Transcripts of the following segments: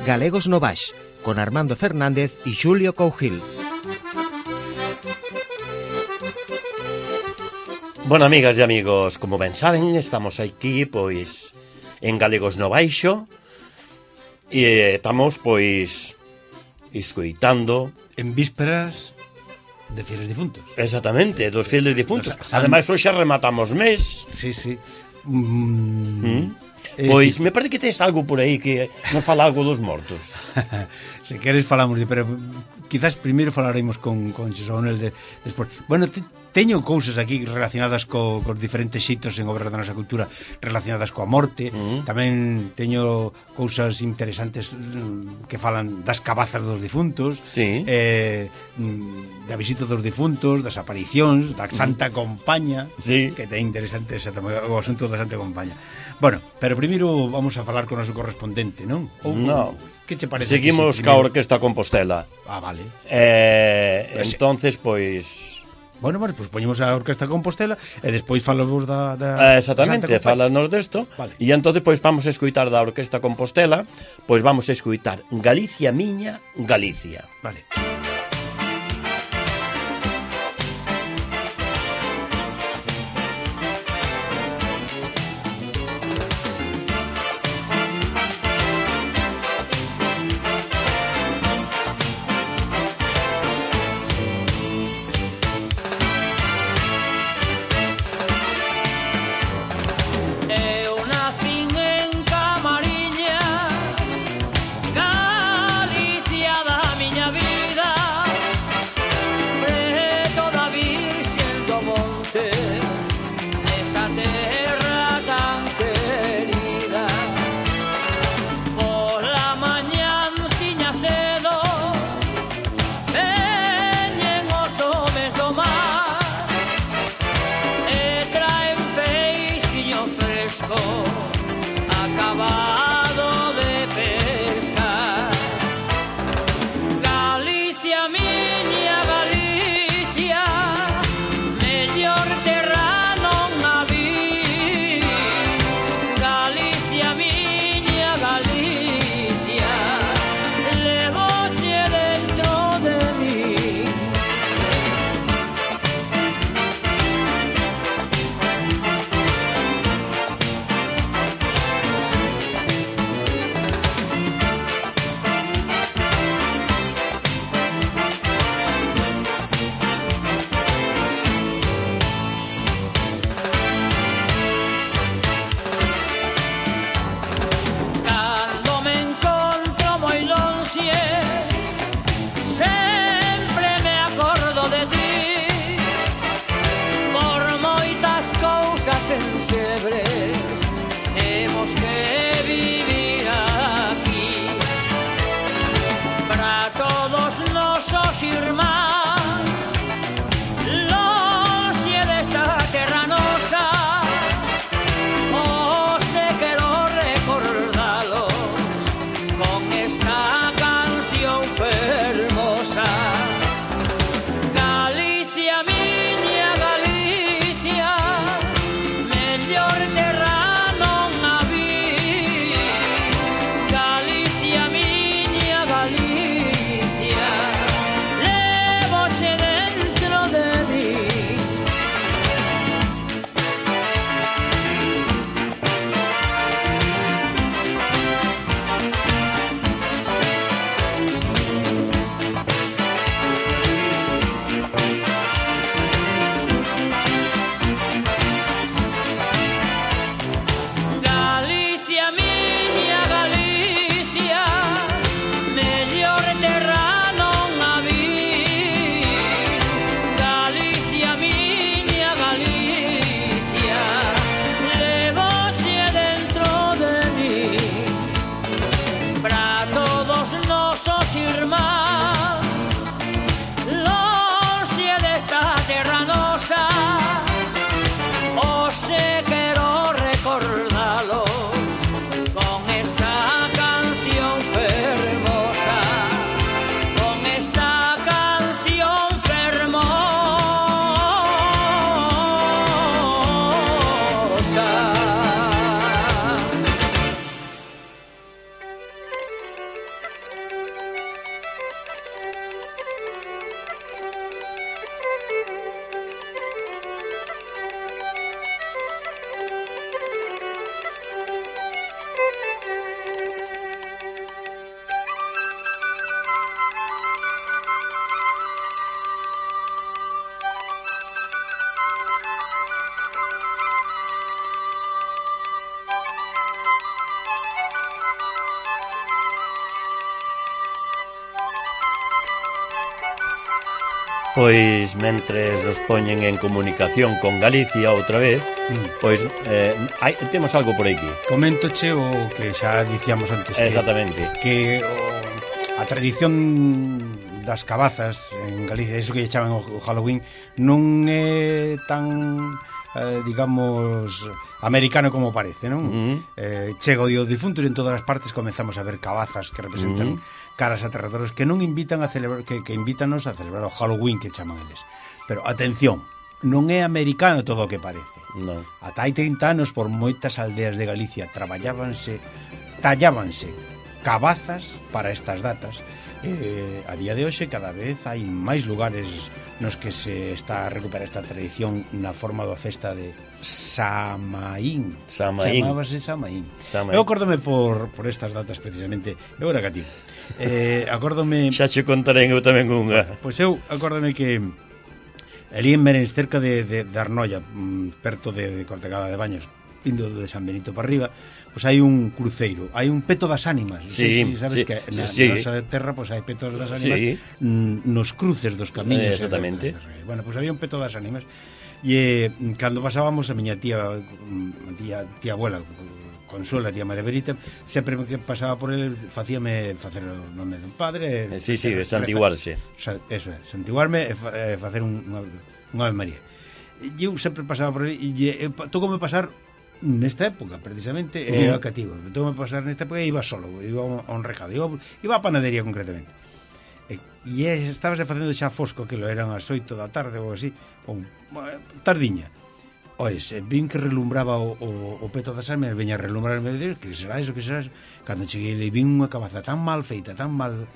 Galegos no Baix, con Armando Fernández e Xulio Cougil. Bueno, amigas e amigos, como ben saben, estamos aquí, pois, en Galegos no Baixo, e estamos, pois, escoitando... En vísperas de fieles difuntos. Exactamente, dos fieles difuntos. Ademais, hoxe rematamos mes. Sí, sí. Pois, me parece que tes algo por aí que nos fala algo dos mortos. Se queres falamos, pero quizás primeiro falaremos con Xosé Manuel despois. Bueno, teño cousas aquí relacionadas cos diferentes xitos en obras da nosa cultura relacionadas coa morte. Tamén teño cousas interesantes que falan das cabazas dos difuntos, sí. Da visita dos difuntos, das aparicións, da Santa Compaña, sí. Que ten interesante o asunto da Santa Compaña. Bueno, pero primeiro vamos a falar con o noso correspondente, non? No. Que che parece? Seguimos ca Orquesta Compostela. Ah, vale. Entonces, pois... Bueno, pues poñemos a Orquesta Compostela e despois falamos da exactamente, falanos desto. Vale. E entonces pois vamos a escoitar da Orquesta Compostela, pois vamos a escoitar Galicia miña, Galicia. Vale. Galicia da miña vida. Pois, mentres nos poñen en comunicación con Galicia outra vez, pois temos algo por aquí. Coméntoche o que xa dicíamos antes. Exactamente. Que a tradición das cabazas en Galicia, eso que lle chaman o Halloween, non é tan, digamos, americano como parece, non? Chega o Día dos Difuntos e en todas as partes comezamos a ver cabazas que representan caras aterradoras que non invitan a celebrar, que invítanos a celebrar o Halloween que chaman eles. Pero atención, non é americano todo o que parece. Non. Ata hai 30 anos por moitas aldeas de Galicia tallábanse cabazas para estas datas. A día de hoxe cada vez hai máis lugares nos que se está a recuperar esta tradición na forma da festa de Samaín. Chamábase Samaín. Eu acórdome por estas datas precisamente. Eu era cativo. Acórdome... Xa che contarei eu tamén unha. Pois eu acórdome que ali en Merens, cerca de Arnoia, perto de Cortegada de Baños, indo de San Benito para arriba, pois hai un cruceiro, hai un peto das ánimas. Sí, sabes que na nosa terra pois hai petos das ánimas nos cruces dos camiños. Exactamente. Bueno, pois había un peto das ánimas e cando pasábamos a miña tía abuela Consuela, tía María Berita, sempre que pasaba por ele facíame facer o nome dun padre, santiguarse. Eso é, santiguarme e facer unha Ave María. E eu sempre pasaba por ele e tocoume pasar nesta época, precisamente, era cativo. Tocoume pasar nesta época e iba solo, iba a un recado, iba a panadería concretamente. E estabase facendo xa fosco, que lo eran as 8 da tarde ou así, ou tardiña. Ois, vin que relumbraba o peto das almas, veña a relumbrar e me dixo, que será eso, que será eso? Cando cheguei, vin unha cabaza tan mal feita, tan mal...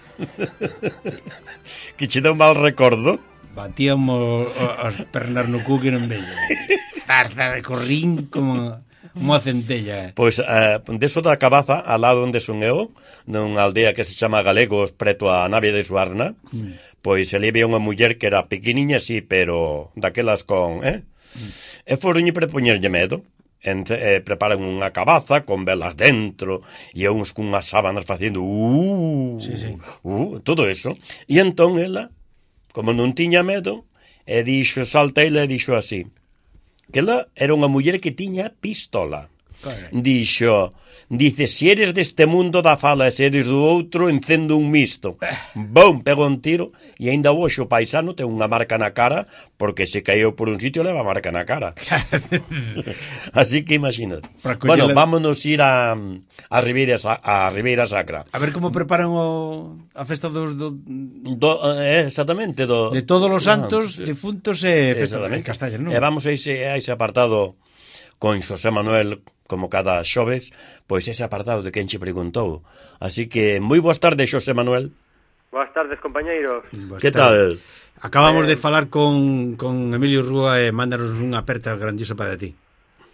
Que che dá un mal recordo. Batíamos as pernas no cu que non veño. Zarza de corrín como a centella. Pois, deso da cabaza, ao lado onde son eu, nunha aldea que se chama Galegos, preto a nave de Suarna, pois ali había unha muller que era pequeniña, sí, pero daquelas con... E foronlle para poñerlle medo. Preparan unha cabaza con velas dentro e uns cunhas sábanas facendo todo eso. E entón ela, como non tiña medo, salta ela e dixo así, que ela era unha muller que tiña pistola. Dice, si eres deste mundo da fala e se eres do outro, encendo un misto. Bom, pegou un tiro e aínda hoxe o paisano ten unha marca na cara porque se caeu por un sitio leva marca na cara. Así que imagínate. Bueno, vámonos ir a Ribeira Sacra. A ver como preparan a festa exactamente de todos os santos, difuntos e festa de Castalla, non? E vamos a ese apartado con Xosé Manuel, como cada xoves, pois ese apartado de quen che preguntou. Así que, moi boas tardes, Xosé Manuel. Boas tardes, compañeiros. Que tal? Acabamos de falar con Emilio Rúa e mándanos unha aperta grandiosa para ti.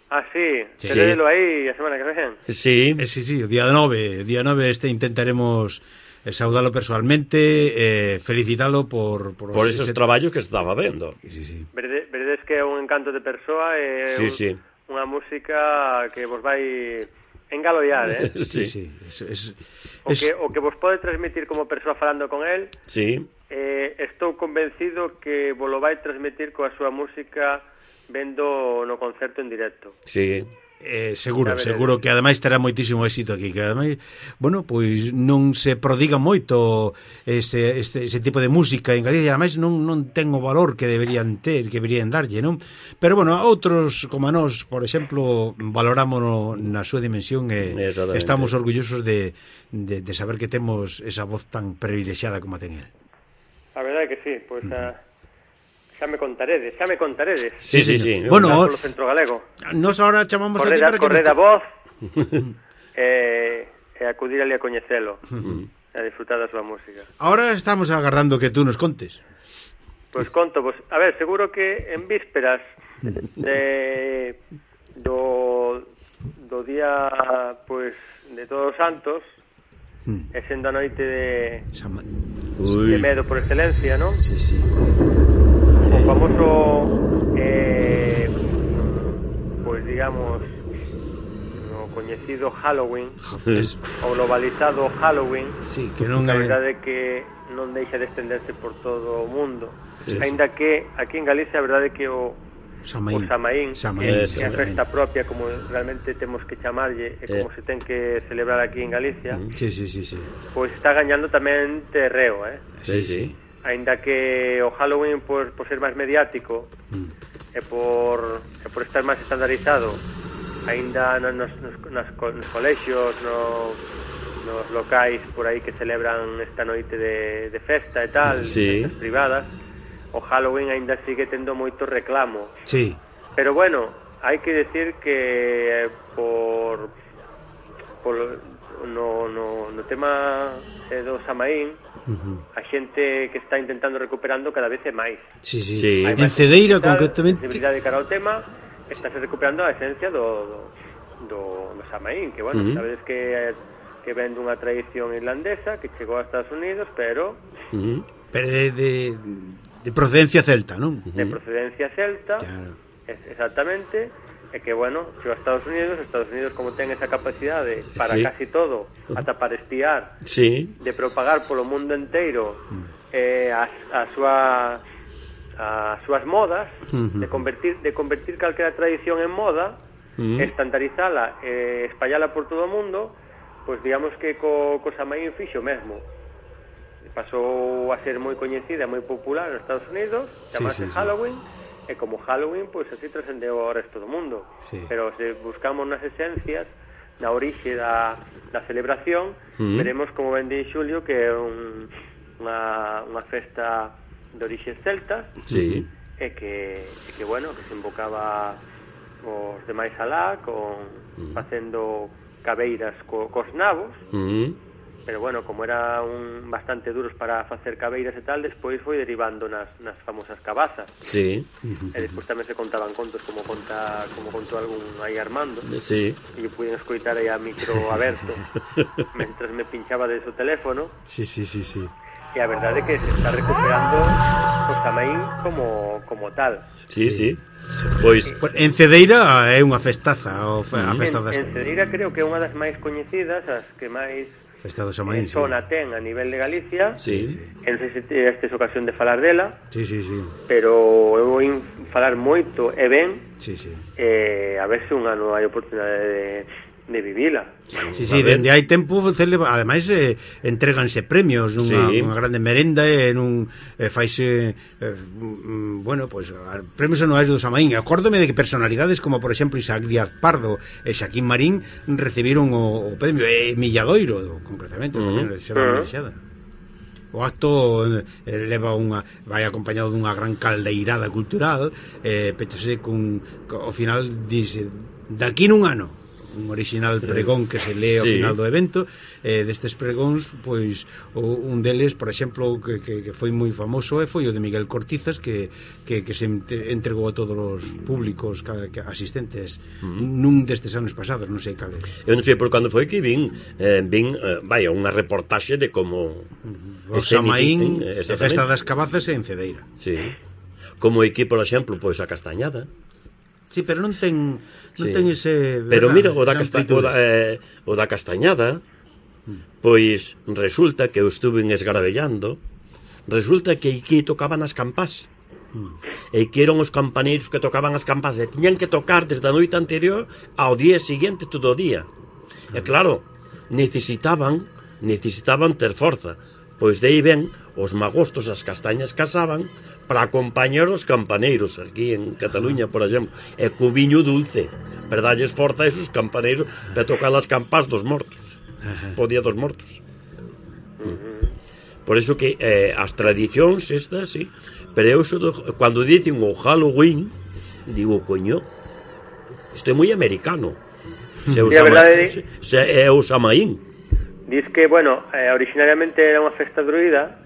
Ah, sí? Teredelo aí a semana que ven? Sí. Sí, o día 9 saudaremos saudalo personalmente, felicitalo por esos traballos que está facendo. Sí. Veredes que é un encanto de persoa e unha música que vos vai engaloiar, Sí. O que vos pode transmitir como persoa falando con el. Sí. Estou convencido que vos lo vai transmitir coa súa música vendo no concerto en directo. Sí. Seguro que ademais terá moitísimo éxito aquí, que ademais, bueno, pois non se prodiga moito ese tipo de música en Galicia, ademais non ten o valor que deberían ter, que deberían darlle, non? Pero bueno, a outros como a nós, por exemplo, valorámonos na súa dimensión e estamos orgullosos de saber que temos esa voz tan privilexiada como a ten el. A verdade que sí, pois xa me contaredes. Sí. Bueno, polo centro galego. Nos ahora chamamos aquí para que correr a voz e acudir ali a coñecelo e a disfrutar da súa música. Ahora estamos agardando que tú nos contes. Pois conto, a ver, seguro que en vísperas do día pois de Todos os Santos, e sendo a noite de medo por excelencia, non? Sí. O famoso pois digamos no coñecido Halloween o globalizado Halloween, sí, que non a verdade é que non deixa de extenderse por todo o mundo. Aínda que aquí en Galicia a verdade é que o Samaín é a festa propia, como realmente temos que chamarlle, e como se ten que celebrar aquí en Galicia. Pois está gañando tamén terreo, Aínda que o Halloween por ser máis mediático e por estar máis estandarizado, aínda nos colexios, nos locais por aí que celebran esta noite de festa e tal, festas privadas, o Halloween aínda sigue tendo moito reclamo. Pero bueno, hai que decir que no tema do Samaín, a xente que está intentando recuperando cada vez é máis. En Cedeira concretamente, sensibilidade cara ao tema, está se recuperando a esencia do Samaín, que bueno, sabedes que ven dunha tradición irlandesa que chegou a Estados Unidos, pero de procedencia celta, non? De procedencia celta, exactamente. E que, bueno, chegou a Estados Unidos como ten esa capacidade para casi todo, ata para espiar, de propagar polo mundo inteiro as súas modas, de convertir calquera tradición en moda, estandarizala, espallala por todo o mundo. Pois digamos que co Samaín fixo mesmo. Pasou a ser moi coñecida, moi popular nos Estados Unidos, chamase Halloween, e como Halloween, pois así trascendeu ao resto do mundo. Pero se buscamos nas esencias, na orixe da celebración, veremos, como ben di Xulio, que é unha festa de orixes celtas, e que bueno, que se invocaba os demais alá, facendo cabeiras cos nabos, pero bueno, como eran bastante duros para facer cabeiras e tal, despois foi derivando nas famosas cabazas. E despois tamén se contaban contos, como contou algún aí Armando, e eu puiden escoitar aí a micro aberto mentras me pinchaba de su teléfono. E a verdade é que se está recuperando o Samaín como tal. Pois en Cedeira é unha festaza, a festa das... En Cedeira creo que é unha das máis coñecidas, as que máis Festa do Samaín, zona ten a nivel de Galicia. Non sei se tes ocasión de falar dela. Pero eu vou falar moito e ben, a ver se un ano hai oportunidade de vivila. Dende hai tempo, ademais entréganse premios nunha grande merenda e faise bueno, pois premios anuais do Samaín. Acórdome de que personalidades como por exemplo Isaac Díaz Pardo e Xaquín Marín recibiron o premio, e Milladoiro concretamente tamén recibiron a menxada. O acto vai acompañado dunha gran caldeirada cultural, pechase ao final dice daqui nun ano un original pregón que se lee ao final do evento. Destes pregóns, pois un deles, por exemplo, que foi moi famoso, foi o de Miguel Cortizas, que se entregou a todos os públicos asistentes nun destes anos pasados, non sei cal é. Eu non sei por cando foi que vin unha reportaxe de como o Samaín, a festa das cabazas en Cedeira. Como aquí, por exemplo, pois a Castañada. Pero non ten ese... Pero mira, o da Castañada, pois resulta que eu estuve esgarabellando, resulta que aquí tocaban as campás, e que eran os campaneiros que tocaban as campás, e tiñan que tocar desde a noite anterior ao día seguinte todo o día. E claro, necesitaban ter forza, pois de aí ven os magostos, as castañas casaban para acompañar os campaneiros aquí en Cataluña, por exemplo, e co viño dulce para darlles forza a esos campaneiros para tocar as campás dos mortos, po día dos mortos. Por iso que as tradicións estas, pero eu cando dicen o Halloween digo, coño, isto é moi americano. Se é o Samaín. Diz que, bueno, originariamente era unha festa druida,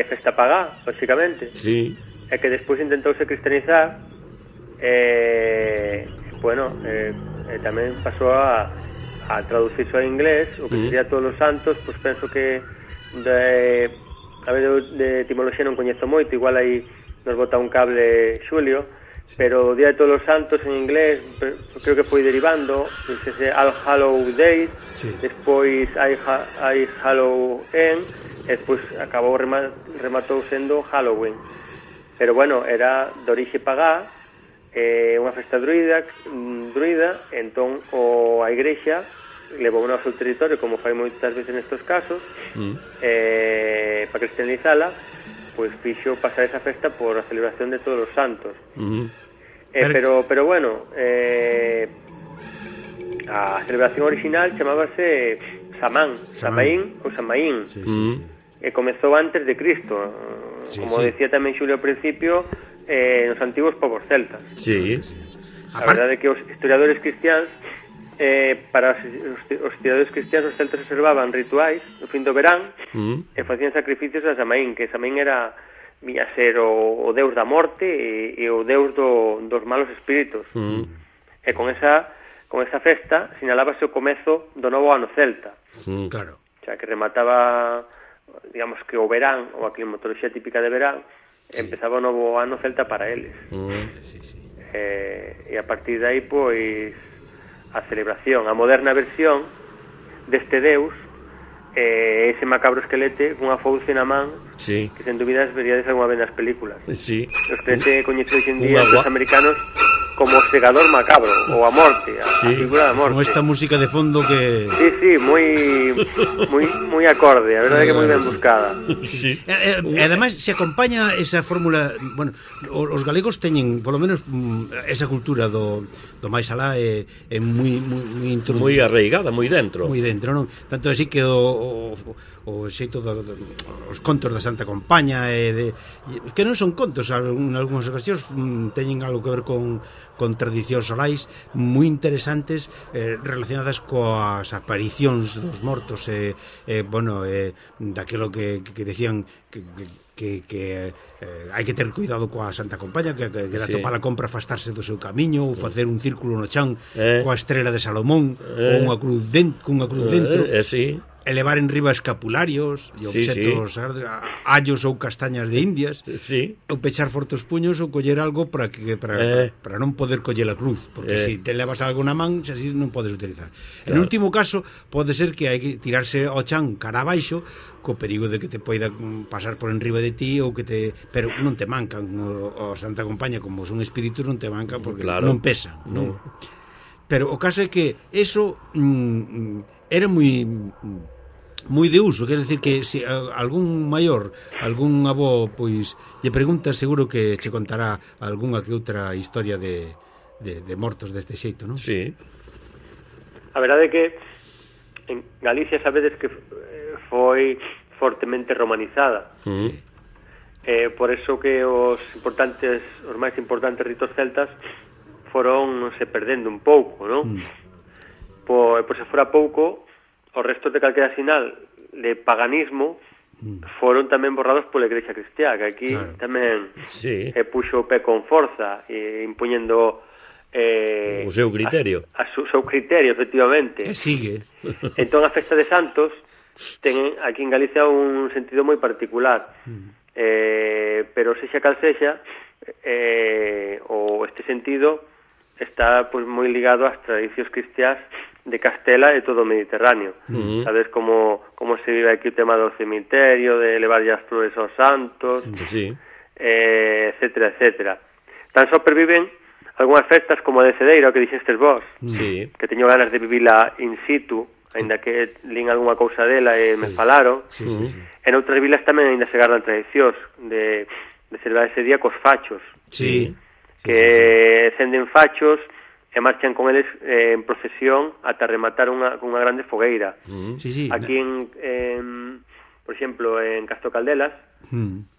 festa pagá, lógicamente, e que despois intentouse cristianizar, tamén pasou a traducirse ao inglés, o que sería Todos os Santos. Pois penso que a ver, de etimoloxía non coñezo moito, igual aí nos bota un cable Xulio, pero o Día de Todos os Santos en inglés creo que foi derivando, ese All Hallow Day, despois I Halloween, e despois rematou sendo Halloween. Pero bueno, era de orixe pagá, unha festa druida, entón a igrexa levou ao seu territorio, como fai moitas veces nestes casos, para cristianizala, pois fixo pasar esa festa por a celebración de Todos os Santos. Pero bueno, a celebración original chamábase Samaín ou Samaín, e comezou antes de Cristo, como decía tamén Xulio ao principio, nos antigos povos celtas. A verdade é que os historiadores cristiáns, para os historiadores cristiáns, os celtas observaban rituais no fin do verán e facían sacrificios a Samaín, que Samaín viña a ser o deus da morte e o deus dos malos espíritos. E con esa festa sinalábase o comezo do novo ano celta. Claro. O sea, que remataba, digamos que o verán, ou a climatoloxía típica de verán, empezaba o novo ano celta para eles. E a partir de aí, pois, a celebración, a moderna versión deste deus, ese macabro esquelete cunha fouce na man, que sen dúbidas veríades algunha vez nas películas. Os que se coñece hoxe en día os americanos como o segador macabro, ou a morte, a figura da morte. Con esta música de fondo que... Sí, moi acorde, a verdade é que moi ben buscada. E ademais se acompaña esa fórmula, bueno, os galegos teñen, polo menos, esa cultura do máis alá é moi arraigada, moi dentro. Moi dentro, non? Tanto así que o xeito os contos da Santa Compaña que non son contos, en algunhas ocasións teñen algo que ver con tradicións orais moi interesantes, relacionadas coas aparicións dos mortos, daquilo que decían que hai que ter cuidado coa Santa Compaña, que da topa a compra afastarse do seu camiño, ou facer un círculo no chan coa estrela de Salomón, ou unha cruz dentro, elevar en riba escapularios e obxetos, allos ou castañas de Indias, ou pechar fortes puños ou coller algo para non poder coller a cruz, porque se te levas algo na man, así non podes utilizar. En último caso, pode ser que hai que tirarse ao chan cara abaixo, co perigo de que te poida pasar por enriba de ti, ou que pero non te mancan, o Santa Compaña, como son espíritus, non te mancan porque non pesan, non? Pero o caso é que eso era moi de uso, quer decir que se algún maior, algún avó, pois lle preguntas, seguro que che contará algunha que outra historia de mortos deste xeito, non? Sí. A verdade é que en Galicia sabedes que foi fortemente romanizada. Por eso que os máis importantes ritos celtas foron se perdendo un pouco, non? Pois se fora pouco, os restos de calquera sinal de paganismo foron tamén borrados pola Igrexa Cristiá, que aquí tamén puxo o pé con forza, impuñendo o seu criterio. O seu criterio, efectivamente. Que sigue. Entón a festa de Santos ten aquí en Galicia un sentido moi particular, pero sexa cal sexa, este sentido está pois moi ligado ás tradicións cristiás de Castela e todo o Mediterráneo. Sabes como se vive aquí o tema do cemiterio, de levar as flores aos santos, etcétera, etcétera. Tan só perviven algunhas festas como a de Cedeira, o que dixestes vos, que teño ganas de vivila in situ, aínda que lín algunha cousa dela e me falaron. En outras vilas tamén aínda se gardan tradicións de celebrar ese día cos fachos, que cenden fachos e marchan con eles en procesión ata rematar unha grande fogueira. Aquí por exemplo, en Castro Caldelas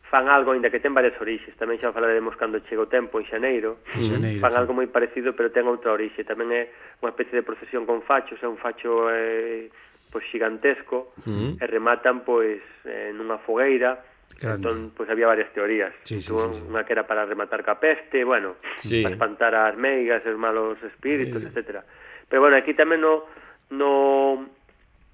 fan algo, ainda que ten varias orixes, tamén xa falaremos cando chega o tempo en xaneiro, fan algo moi parecido, pero ten outra orixe, tamén é unha especie de procesión con fachos, é un facho pois xigantesco, e rematan pois nunha fogueira. Entón, pois había varias teorías. Unha que era para rematar ca peste, bueno, para espantar as meigas, os malos espíritus, etcétera. Pero bueno, aquí tamén na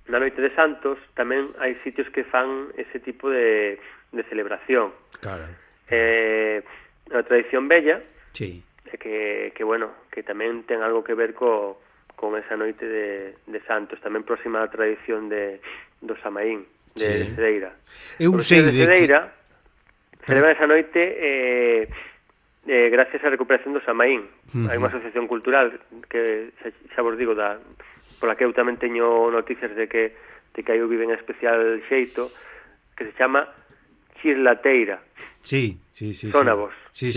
noite de Santos tamén hai sitios que fan ese tipo de celebración. A tradición bella que bueno, que tamén ten algo que ver con esa noite de Santos, tamén próxima á tradición do Samaín, de Cedeira. Eu sei de Cedeira celebra esa noite gracias á recuperación do Samaín. Hai unha asociación cultural que xa vos digo pola que eu tamén teño noticias de que aí eu vive en especial xeito, que se chama Chislateira. Sí. Sónavos. Sí.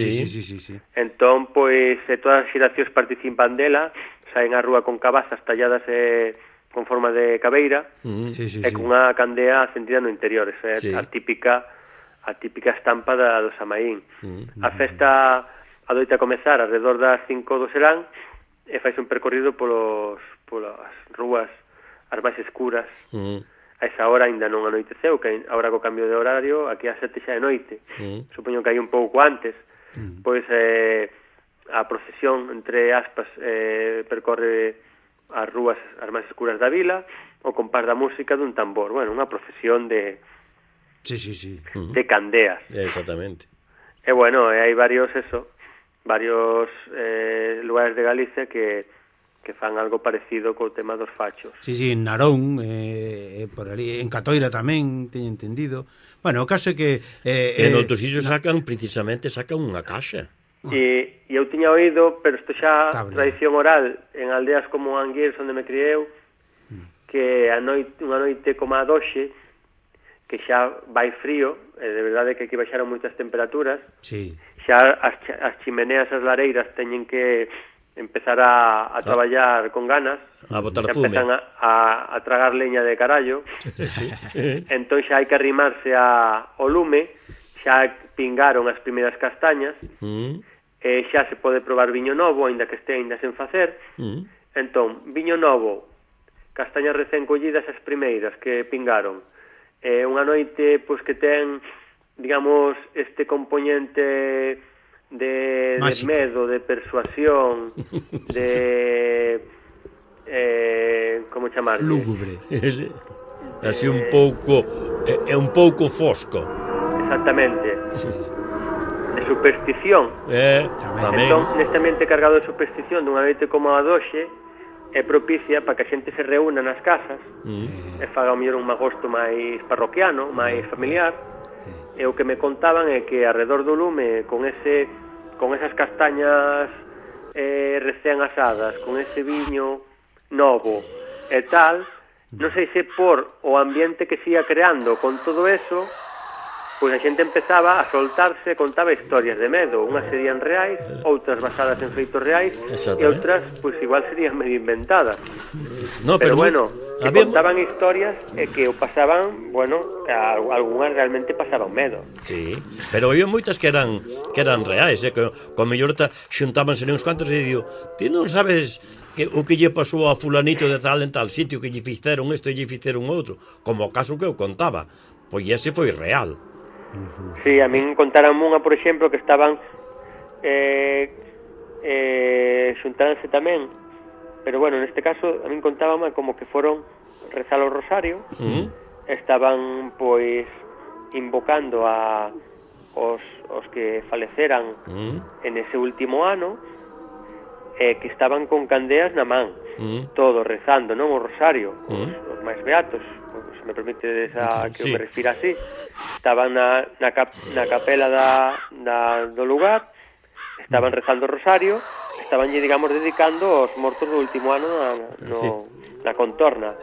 Entón, pois, todas as xeracións participan dela, saen á rúa con cabazas talladas con forma de cabeira, e cunha candea acendida no interior. Esa é a típica estampa do Samaín. A festa adoita comezar alrededor das 5 do serán e faise un percorrido polas rúas as máis escuras. A esa hora ainda non anoiteceu, que agora co cambio de horario aquí a 7 xa é noite. Supoño que hai un pouco antes. Pois a procesión, entre aspas, percorre as rúas as máis escuras da vila ao compás da música dun tambor. Bueno, unha procesión de candeas. Exactamente. E bueno, hai varios lugares de Galicia que fan algo parecido co tema dos fachos. Sí, en Narón, por ali, en Catoira tamén, teño entendido. Bueno, o caso é que... en outros sitios sacan unha caixa. E eu tiña oído, pero isto xa tradición oral, en aldeas como Anguiers, onde me criei eu, que unha noite como a doxe, que xa vai frío, de verdade que aquí baixaron moitas temperaturas, xa as chimeneas, as lareiras teñen que empezar a traballar con ganas, a botar fume, empezan a tragar leña de carallo. Entón xa hai que arrimarse ao lume, xa pingaron as primeiras castañas, e xa se pode probar viño novo, aínda que este aínda sen facer. Entón, viño novo, castañas recén collidas as primeiras que pingaron, unha noite pois que ten, digamos, este componente de medo, de persuasión, de como chamarlle? Lúgubre. Así un pouco fosco. Exactamente. De superstición. Tamén. Entón, neste ambiente cargado de superstición dunha noite como a doxe, é propicia para que a xente se reúna nas casas e faga ao mellor un magosto máis parroquiano, máis familiar. E o que me contaban é que alrededor do lume, con esas castañas recén asadas, con ese viño novo e tal, non sei se por o ambiente que se ia creando con todo eso, pois a xente empezaba a soltarse, contaba historias de medo. Unhas serían reais, outras basadas en feitos reais, e outras, pois igual serían medio inventadas. No, pero bueno, que contaban historias e que o pasaban, bueno, algunhas realmente pasaban medo. Sí, pero había moitas que eran reais, que con mellor xuntábanse uns cuantos e digo, ti non sabes o que lle pasou a fulanito de tal en tal sitio, que lle fixeron isto e lle fixeron outro, como o caso que eu contaba, pois ese foi real. Sí, a min contaron unha, por exemplo, que estaban xuntándose tamén, pero bueno, neste caso a min contábame como que foron rezar o rosario, estaban pois invocando os que faleceran en ese último ano, que estaban con candeas na man, todos rezando, non, o rosario, os máis beatos, se me permite que eu me refira así. Estaban na capela do lugar, estaban rezando o rosario, estaban, digamos, dedicando aos mortos do último ano na contorna.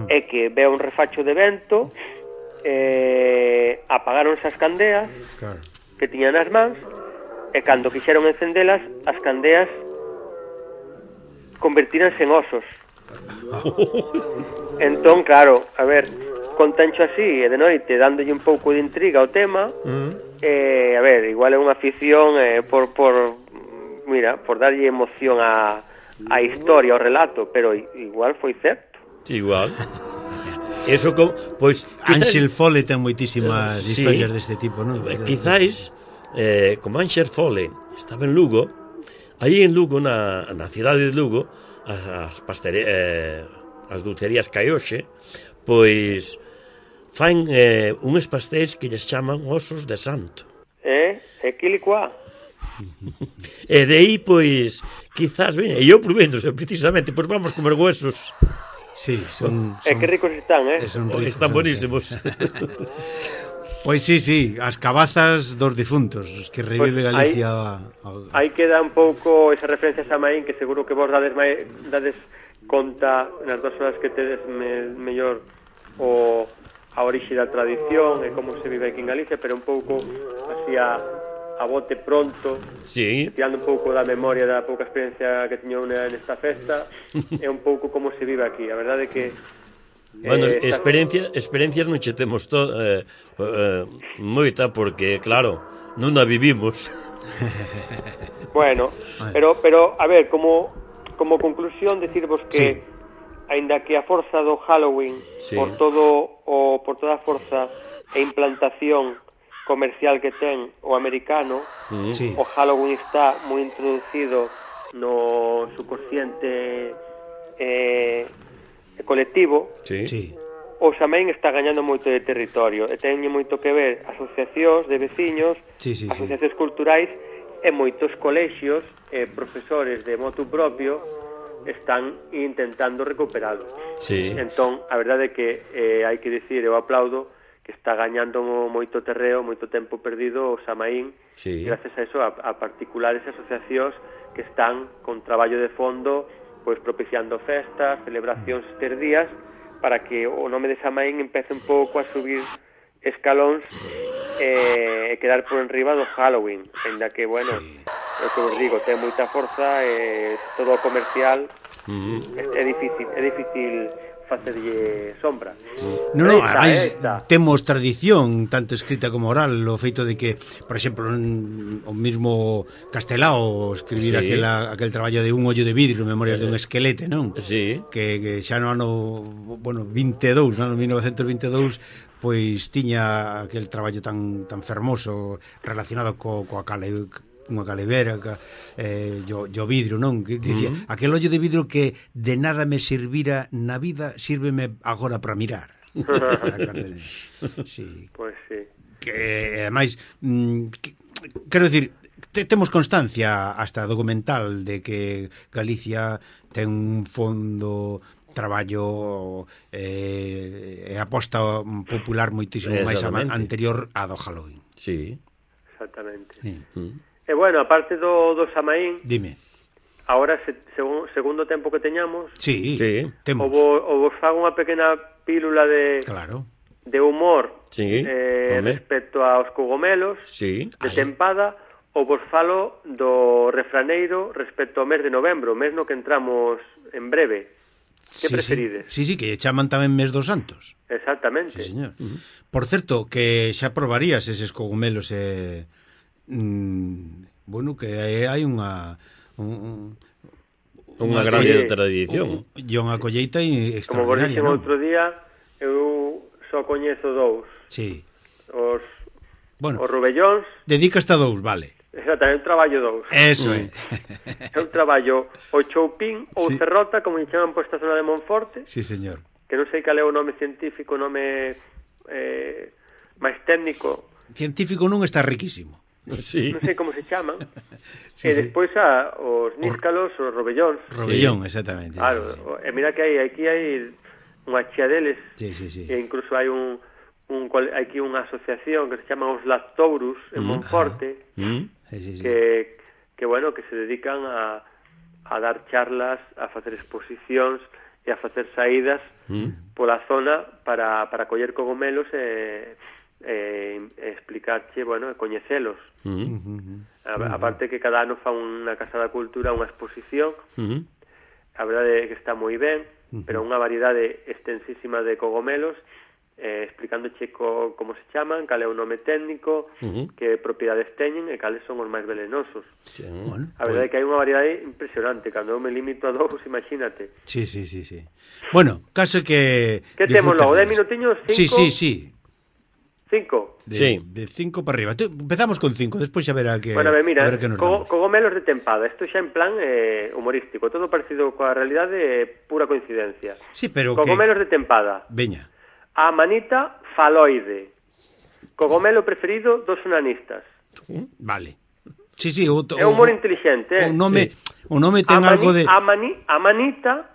É que veo un refacho de vento, apagaron esas candeas que tiñan nas mans, e cando quixeron encendelas, as candeas convertíranse en osos. Entón, claro, a ver, contancho así, e de noite, dándolle un pouco de intriga ao tema, a ver, igual é unha afición por darlle emoción á historia, ao relato, pero igual foi certo. Igual. Eso pois Ángel Fole ten moitísimas historias deste tipo, non? Quizáis como Ángel Fole estaba en Lugo, aí en Lugo, na cidade de Lugo, as dulcerías Caioxe, pois fan uns pastéis que lles chaman osos de santo. Quilicua. E de aí, pois, quizás, e eu probéndose, precisamente, pois vamos comer huesos. Sí, son que ricos están, son ricos, Están buenísimos. Pois sí, as cabazas dos difuntos, os que revive Pois Galicia. Aí queda un pouco esa referencia a Samaín, que seguro que vos dades conta nas 2 horas que tedes mellor a orixe da tradición e como se vive aquí en Galicia, pero un pouco así a bote pronto, Sí. tirando un pouco da memoria da pouca experiencia que teño nesta festa, é un pouco como se vive aquí. A verdade é que Bueno, experiencias non che temos moita, porque, claro, non a vivimos. Bueno, pero a ver, como conclusión decirvos que aínda que a forza do Halloween por toda a forza e implantación comercial que ten o americano, o Halloween está moi introducido no subconsciente colectivo. O Samaín está gañando moito de territorio e teñe moito que ver asociacións de veciños, asociacións culturais e moitos colexios e profesores de motu propio están intentando recuperalo. Entón, a verdade é que hai que dicir, eu aplaudo que está gañando moito terreo, moito tempo perdido o Samaín, gracias a eso, a particulares asociacións que están con traballo de fondo, pois propiciando festas, celebracións estes días, para que o nome de Samaín empece un pouco a subir escalóns e quedar por enriba do Halloween, ainda que, bueno, o que vos digo, ten moita forza e todo o comercial é difícil facerlle sombra. Ademais, temos tradición tanto escrita como oral, o feito de que, por exemplo, o mismo Castelao escribir aquel traballo de Un ollo de vidro, Memorias de un esquelete, non? Que xa no ano 22, no ano 1922, pois tiña aquel traballo tan fermoso relacionado coa unha calevera, o vidro, non? Que dicía, aquel ollo de vidro que de nada me servira na vida, sírveme agora para mirar. Pois sí. Que, ademais, quero dicir, temos constancia hasta documental de que Galicia ten un fondo traballo e aposta popular moitísimo máis anterior a do Halloween. Exactamente. E bueno, aparte do Samaín, dime. Ahora, segundo tempo que teñamos, temos. O vos fago unha pequena pílula de humor respecto aos cogomelos de tempada, ou vos falo do refraneiro respecto ao mes de novembro, mes no que entramos en breve. Que preferides? Sí, que chaman tamén mes dos santos. Exactamente. Sí, señor. Por certo, que xa probarías eses cogomelos bueno, que hai unha grande tradición e unha colleita extraordinaria. Como vos dixen outro día, eu só coñezo 2. Os rubellóns. Dedicaste a 2, vale. Exactamente, eu traballo 2. Eso é. Eu traballo o choupín ou cerrota, como lle chaman por esta zona de Monforte. Sí, señor. Que non sei cal é o nome científico, o nome máis técnico. Científico non, está riquísimo. Non sei como se chaman. E despois os níscalos, os robellóns. Robellón, exactamente. Claro, e mira que aquí hai unha chea deles. E incluso hai aquí unha asociación que se chama os Lactourus en Monforte, que bueno, que se dedican a dar charlas, a facer exposicións e a facer saídas pola zona para coller cogomelos e explicarche, bueno, e coñecelos. Aparte que cada ano fa unha Casa da Cultura unha exposición, a verdade é que está moi ben, pero unha variedade extensísima de cogomelos, explicándoche como se chaman, cal é o nome técnico, que propiedades teñen e cales son os máis velenosos. A verdade é que hai unha variedade impresionante. Cando eu me limito a 2, imagínate. Sí. Bueno, caso que... Que temos logo? 10 minutiños? 5? Sí. 5? De 5 para arriba. Empezamos con 5, despois xa verá que... Bueno, mira, cogomelos de tempada. Isto xa en plan humorístico. Todo parecido coa realidade, pura coincidencia. Sí, pero cogomelos de tempada. Veña. A manita faloide. Cogomelo preferido dos onanistas. Vale. Sí, é humor inteligente, O nome ten algo de... Amanita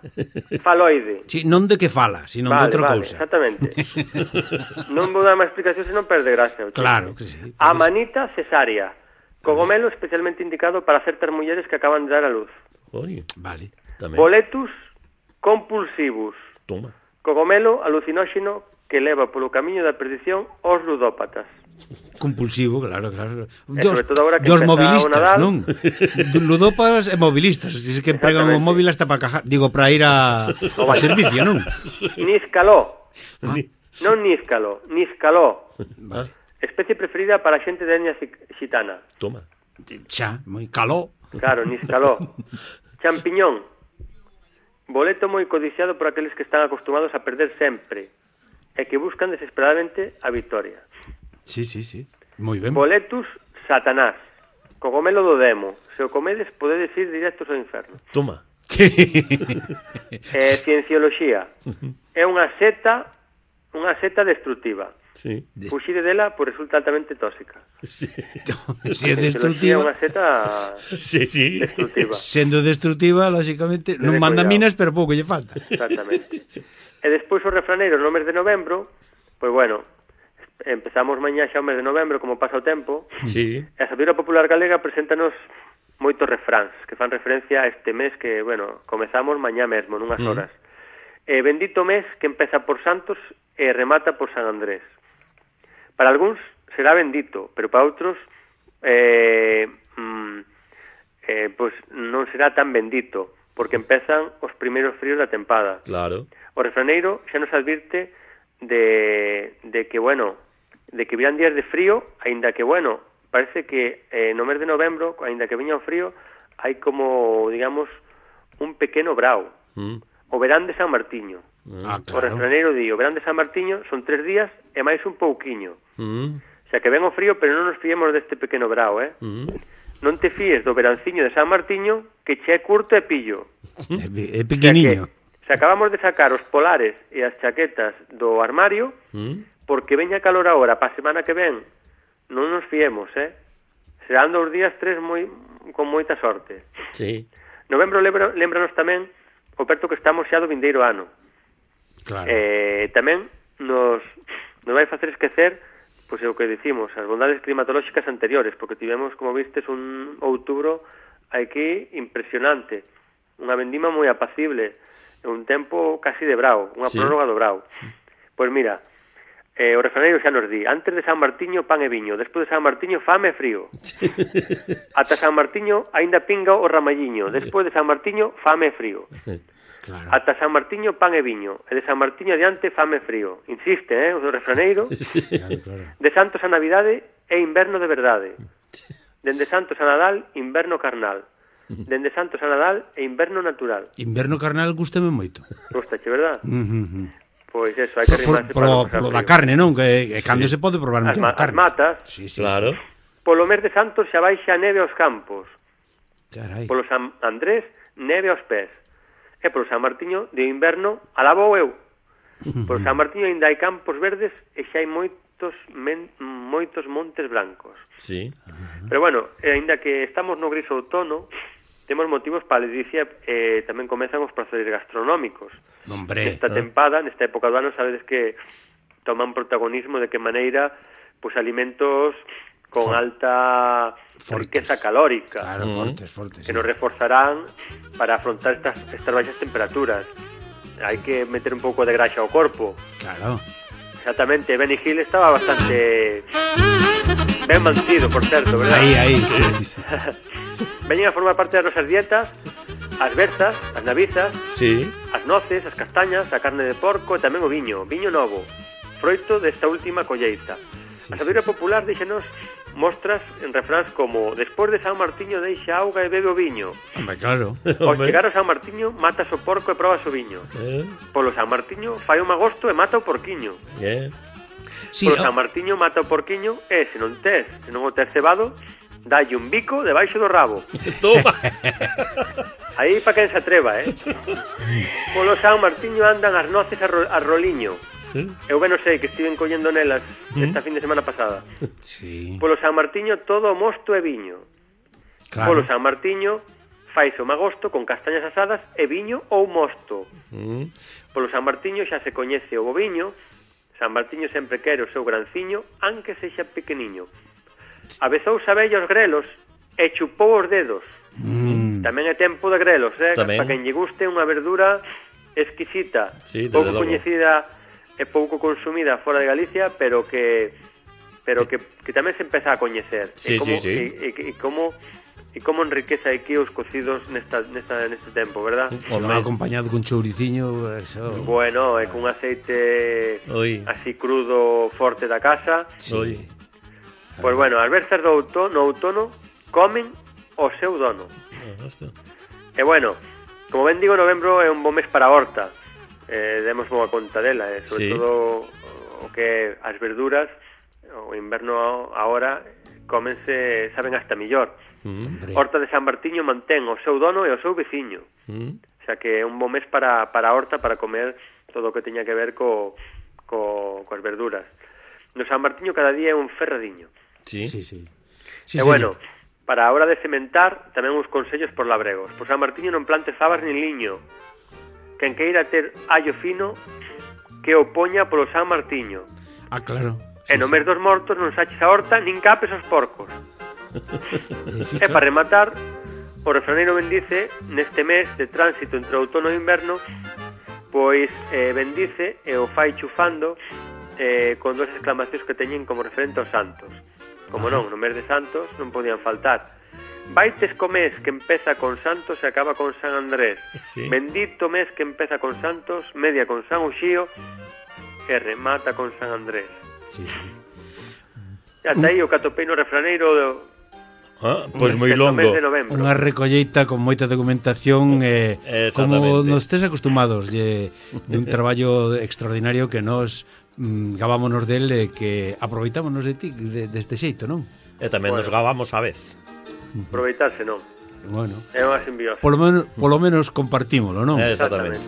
faloide. Sí, non de que fala, sino de outra cousa. Exactamente. Non vou dar máis explicación, senón perde gracia. Claro que sí. Amanita cesárea. Cogomelo especialmente indicado para certas mulleres que acaban de dar a luz. Oye, Vale. tamén. Boletus compulsivus. Toma. Cogomelo alucinóxeno que leva polo camiño da perdición aos ludópatas. Compulsivo, claro. sobre todo ahora que Dos empeza mobilistas, o Nadal. non? Ludópatas e mobilistas. Dice que pregan o móvil hasta para cajar, para ir a servicio, non? Níscalo. Non níscalo, níscalo. Vale. Especie preferida para a xente de etnia xitana. Toma. Xa, moi caló. Claro, níscalo. Champiñón. Boleto moi codiciado por aqueles que están acostumados a perder sempre e que buscan desesperadamente a victoria. Sí. Moi ben. Boletus satanás. Cogomelo do demo. Se o comedes, podedes ir directos ao inferno. Toma. Ciencioloxía. É unha seta destructiva. Sí. Fuxide dela, pois resulta altamente tóxica. Sí. Se é É destructiva, unha seta Sí. destructiva. sendo destructiva, lógicamente, non Ten manda cuidado. minas, pero pouco lle falta. Exactamente. E despois os refraneiros no mes de novembro, pois bueno, empezamos mañá xa o mes de novembro, como pasa o tempo, Sí. e a sabiduría popular galega preséntanos moitos refráns que fan referencia a este mes que, bueno, comezamos mañá mesmo, nunhas horas. Bendito mes que empeza por Santos e remata por San Andrés. Para algúns será bendito, pero para outros pois non será tan bendito, porque empezan os primeiros fríos da tempada. Claro. O refraneiro xa nos advirte de que, bueno, de que virán días de frío, aínda que, bueno, parece que no mes de novembro, aínda que viña o frío, hai como, digamos, un pequeno brao. O verán de San Martiño. Ah, O refraneiro di, o verán de San Martiño son 3 días e máis un pouquiño. O sea, que ven o frío, pero non nos fiemos deste pequeno brao, Non te fíes do veranciño de San Martiño, que che é curto e pillo. É pequeniño. Se acabamos de sacar os polares e as chaquetas do armario, porque veña calor agora, pa semana que ven, non nos fiemos, Serán 2 días, 3 con moita sorte. Sí. Novembro lembranos tamén o perto que estamos xa do vindeiro ano. Claro. Tamén nos vai facer esquecer, pois é o que dicimos, as bondades climatolóxicas anteriores, porque tivemos, como vistes, un outubro aquí impresionante, unha vendima moi apacible, un tempo casi de brao, unha prórroga do brao. Pois mira, o refraneiro xa nos di, antes de San Martiño pan e viño, despois de San Martiño fame e frío. Ata San Martiño aínda pinga o ramalliño, despois de San Martiño fame e frío. Claro. Ata San Martiño pan e viño, e de San Martiño adiante fame e frío. Insiste, o do refraneiro. Claro. De Santos a Navidade é inverno de verdade. Dende Santos a Nadal, inverno carnal. Dende Santos a Nadal é inverno natural. Inverno carnal gústame moito. Gustache, verdad? Pois eso, hai que arrimarse Polo da carne, non? Que cando se pode probar un as carne. matas. Sí, Claro. Polo mes de Santos xa baixa a neve aos campos. Carai. Polo San Andrés, neve aos pés. E polo San Martiño, de inverno, alabo eu. Polo San Martiño ainda hai campos verdes e xa hai moitos montes blancos. Sí. Pero bueno, aínda que estamos no gris outono, temos motivos para a ledicia e tamén comezan os prazeres gastronómicos. Hombre. Nesta tempada, nesta época do ano, sabedes que toman protagonismo de que maneira pois alimentos con alta riqueza calórica, Claro, fortes. que nos reforzarán para afrontar estas baixas temperaturas. Hai que meter un pouco de graxa ao corpo. Claro. Exactamente, Benny Hill estaba bastante ben mantido, por certo, verdad? Aí, sí. Veñen a formar parte das nosas dietas as berzas, as navizas, Sí. as noces, as castañas, a carne de porco e tamén o viño novo, froito desta última colleita. A sabiduría popular díxenos mostras en refráns como despois de San Martiño deixa auga e bebe o viño. Hombre, claro. Ao chegar ao San Martiño matas o porco e probas o viño. Polo San Martiño fai un magosto e mata o porquiño. Sí, Polo San Martiño mata o porquiño e se non o tes cebado, dalle un bico debaixo do rabo. Toma. Aí pa quen se atreva, Polo San Martiño andan as noces a roliño. Eu ben non sei que estiven collendo nelas esta fin de semana pasada. Sí. Polo San Martiño todo o mosto e viño. Claro. Polo San Martiño faise o magosto con castañas asadas e viño ou mosto. Polo San Martiño xa se coñece o boviño. San Martiño sempre quere o seu granciño, anque sexa pequeniño. Avezou sabella os grelos e chupou os dedos. Tamén é tempo de grelos, Tamén. para quen lle guste unha verdura exquisita, Sí, desde pouco logo. coñecida e pouco consumida fora de Galicia, pero que tamén se empeza a coñecer. Sí, e como, sí, sí. E como enriquece aquí os cocidos neste tempo, verdad? Se va acompañado con chouriciño, eso. Bueno, e cun aceite Oi. así crudo forte da casa. Oi. Pois bueno, as versas no outono comen o seu dono. Hostia. E bueno, como ben digo, novembro é un bo mes para a horta. Demos boa conta dela, sobre Sí. todo o que as verduras, o inverno agora comense, saben hasta millor. Hombre. Horta de San Martiño mantén o seu dono e o seu veciño. O sea que é un bo mes para a horta, para comer todo o que teña que ver coas verduras. No San Martiño cada día é un ferradiño. Sí. Sí, sí. E bueno, para a hora de sementar, tamén uns consellos por labregos. Por San Martiño non plante fabas nin liño. Quen queira ter allo fino, que o poña polo San Martiño. Ah, claro. E no mes dos mortos non saches a horta nin capes os porcos. Sí, E para rematar, o refraneiro bendice neste mes de tránsito entre outono e inverno, pois bendice e o fai chufando con dos exclamacións que teñen como referente aos santos. Como non, no mes de santos non podían faltar. Vaites co mes que empeza con santos e acaba con San Andrés. Sí. Bendito mes que empeza con santos, media con San Uxío e remata con San Andrés. Sí, sí. E ata aí o catopeino refraneiro Pois moi do mes longo. de novembro. Unha recolleita con moita documentación como Exactamente. nos tes acostumados de un traballo extraordinario que nos gavámonos del e que aproveitámonos de ti deste xeito, non? E tamén nos gabamos a vez. Aproveitarse, non? Bueno, É unha simbiosa. polo menos compartímolo, non? Exactamente.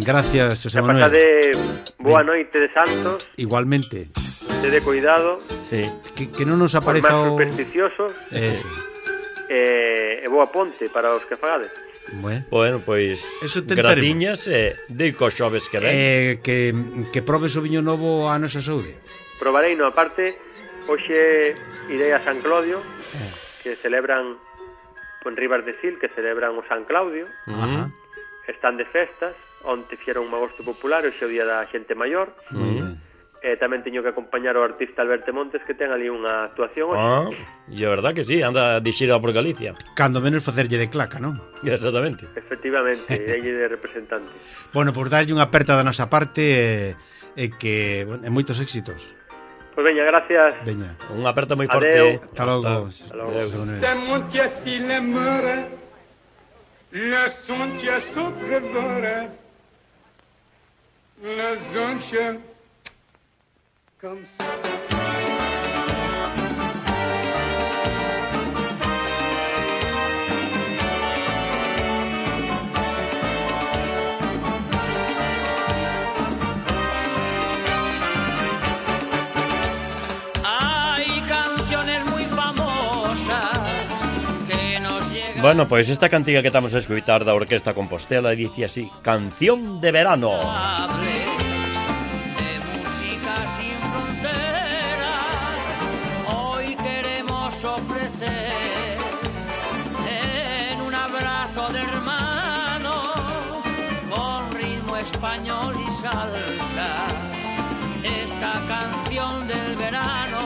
Gracias, José Que Manuel. pasade boa noite de santos, Igualmente. tede cuidado, Sí. Que non nos os máis apareza o... supersticiosos, Eso. e boa ponte para os que fagades. Bueno. Pois Eso tentaremos. gratiñas e dei cos xoves que ven. Que probes o viño novo a nosa saúde. Probarei, no, aparte, hoxe irei a San Claudio, que celebran en Ribas de Sil, que celebran o San Claudio, Ajá. están de festas, onte fixeron un agosto popular, hoxe é o día da xente maior, Moi ben. tamén teño que acompañar o artista Alberto Montes, que ten ali unha actuación hoxe. E a verdad que sí, anda de xira por Galicia. Cando menos facerlle de claca, non? Exactamente. Efectivamente, irei de representante. Bueno, por darlle unha aperta da nosa parte e que, bueno, e moitos éxitos. Pois veña, gracias. Veña. Unha aperta moi Adeu. forte. Hasta logo. Hasta logo. José Manuel. C'est mon tiassi le mare, le son tiasso crevore, le zonche, comme ça. Hay canciones muy famosas que nos llegan. Bueno, pois esta cantiga que estamos a escutar da Orquesta Compostela dice así: Canción de verano. De música sin fronteras, hoy queremos ofrecer en un abrazo de hermano, con ritmo español y salsa, esta canción del verano.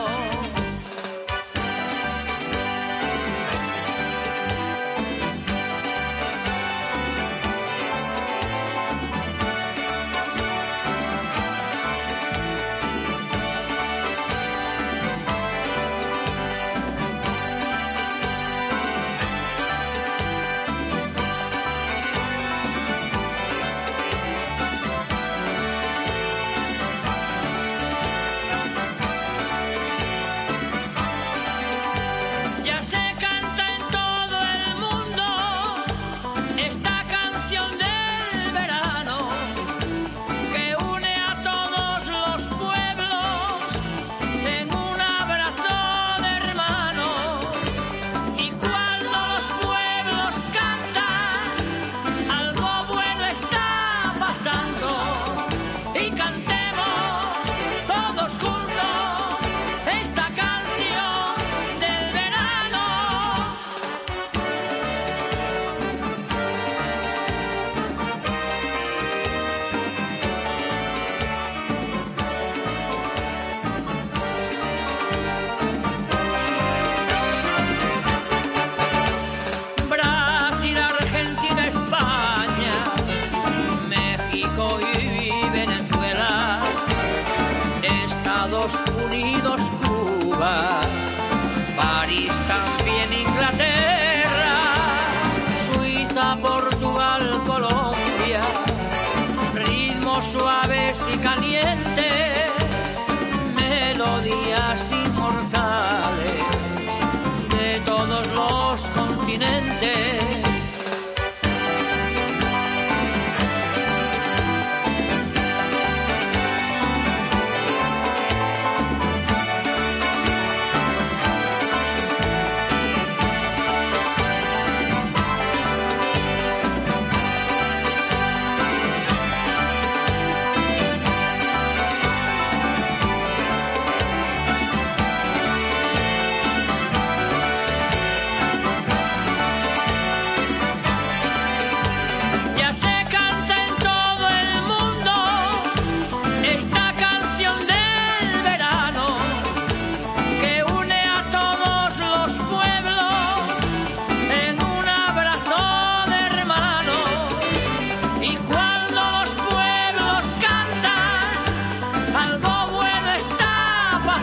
continente.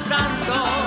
Santo.